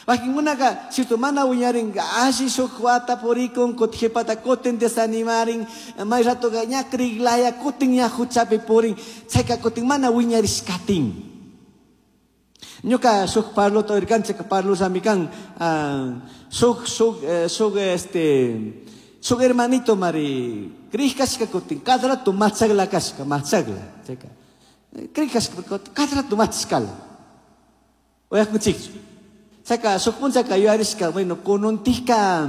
Wakinkunaqa cierto mana wiñarin alli shuk wata purikun kutin qhipata kutin desanimarin may ratoqa ña kriglaya kutin ña huchapi purin chayka kutin mana wiñarishkatin. Ñuka shuk parlota oirkanchik parlusami kan shuk shuk shuk este shuk hermanito mari krij kashka kutin cada rato machagla kashka machagla chayka krij kashka cada rato machashkala uyakunchikchu. Chayka shuk punchaka yuyarishka bueno kununtikka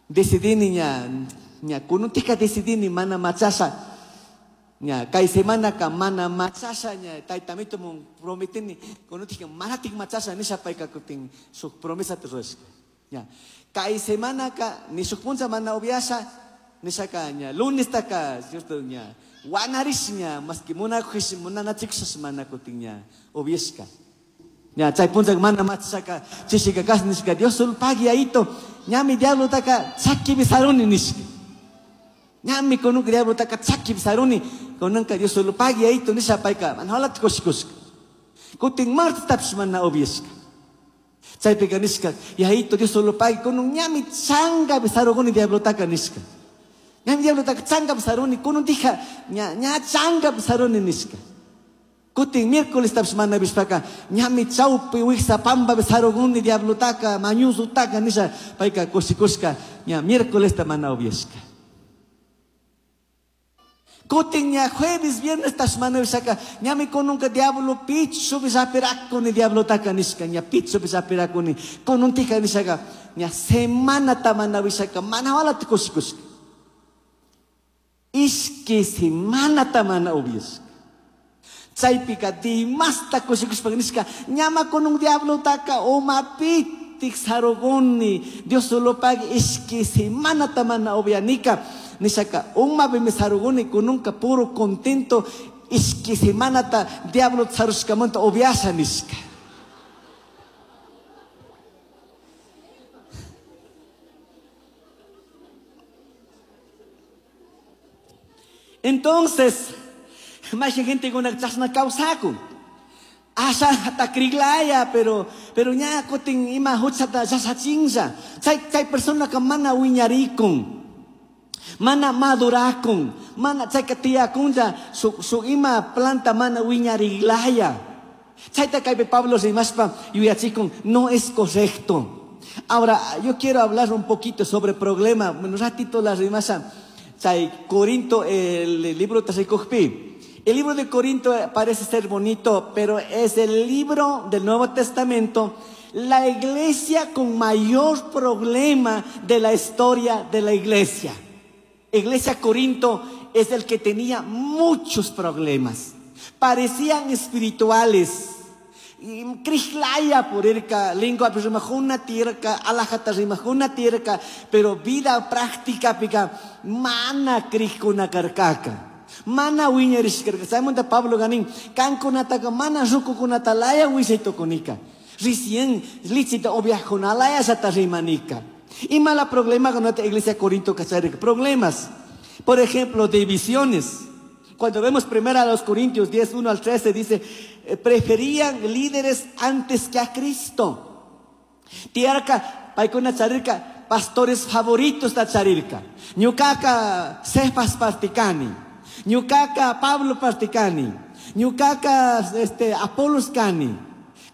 decidini ña ña kununtikka decidini mana machasha ña kay semanaka mana machasha ña taytamito mun prometini kununtikka manatik machasha nisha payka kutin shuk promesata rurashka ña kay semanaka ni shuk puncha mana upiasha nishaka ña lunestaka cierto ña wanarish ña maski munakush munanachikushash mana kutin ña upiashka. Ña chay punchaka mana machashaka chishika kash nishka Dios solo pagui ayito ñami diablotaka chakipi saruni nishka. Ñami kununka diablotaka chakipi saruni kunanka Dios solo pagui ayito nisha payka mana walata kushikushka. Kutin martestapish mana upiashka. Chaypika nishka yayito Dios solo pagui kunun ñami changapi sarukuni diablotaka nishka. Ñami diablotaka changapi saruni kunun tija ña ña changapi saruni nishka. Kutin miércoles tapish mana vishpaka ñami chawpi wiksa pampapi sarukuni diablotaka mañusutaka nisha payka kushikushka ña miércolesta mana upiashka. Kutin ña jueves viernes tapish mana vishaka ñami kununka diablo pichupi sapirakuni diablotaka nishka ña pichupi sapirakuni kununtika nishaka ña semanata mana vishaka mana walata kushikushka. Ishki semanata mana upiashka. Chaypika dimasta kushikushpa nishka ñama kunun diablotaka umapitik sarukuni Dios solo pagui ishki semanata mana upianika nishaka umapimi sarukuni kununka puro contento ishki semanata diablo sarushkamanta upiasha nishka. Entonces, más gente con chasna kawsakun. Asha takriglaya, pero ña kutin ima huchata sasachinsa. Chay, chay persona ka mana wiñarikun. Mana madurakun. Mana chay ka tiyakunja su, su ima planta mana wiñariglaya. Chayta kaypi Pablo rimaspa yuyachikun, no es correcto. Ahora, yo quiero hablar un poquito sobre problema. Bueno, un ratito la rimasa. Chay, Corinto, el libro Tasikujpi. El libro de Corinto parece ser bonito, pero es el libro del Nuevo Testamento, la iglesia con mayor problema de la historia de la iglesia. Iglesia Corinto es el que tenía muchos problemas. Parecían espirituales. Krislaya por irka, lengua rimajuna tirka, alajata rimajuna tirka, pero vida práctica pica, mana krikuna karkaka. Mana wiñarishkarka. Chaymanta Pablo ganin, kankunataka mana rukukunata laya wisaytukunika. Recién lichita oviajunalaya sata rimanika. Y mala problema con nuestra iglesia Corinto cacharika. Problemas. Por ejemplo, divisiones. Cuando vemos primero a los Corintios 10, 1 al 13, dice, preferían líderes antes que a Cristo. Tiarca, paikuna charirka, pastores favoritos da charirka. Ñukaka, Cefas particani. Ñukaka, Pablo particani. Ñukaka, Apolos cani.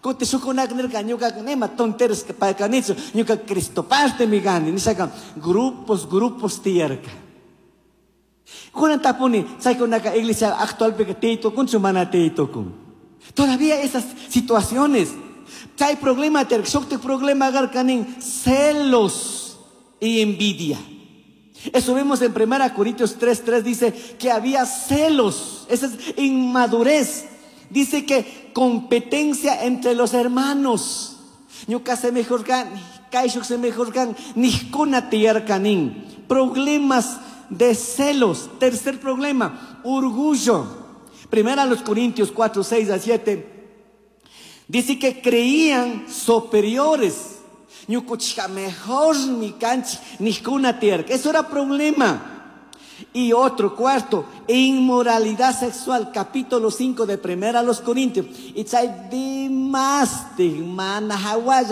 Kuti shukunak nirka, ñukaka nema tonteros que paikanichu, ñuka Cristo parte mi gani. Nisaka, grupos, grupos tiarca. Kunan tapuni, chaykunaka iglesia actualpika tiytukunchu mana tiytukun. Todavía esas situaciones. Chay problema tiarka, shuktik problema agarkanin, celos y envidia. Eso vemos en 1 Corintios 3:3, dice que había celos. Esa es inmadurez. Dice que competencia entre los hermanos. Ñuka se mejor gan, kaishuk se mejor gan, nijkuna tiyarkanin. Problemas de celos. Tercer problema, orgullo. Primera los Corintios 4, 6 a 7. Dice que creían superiores. Ñukuchika mejor mi canchi, nijkuna tierra. Eso era problema. Y otro cuarto, inmoralidad sexual, capítulo 5 de Primera a los Corintios. Y chay dimas, mana hawaya.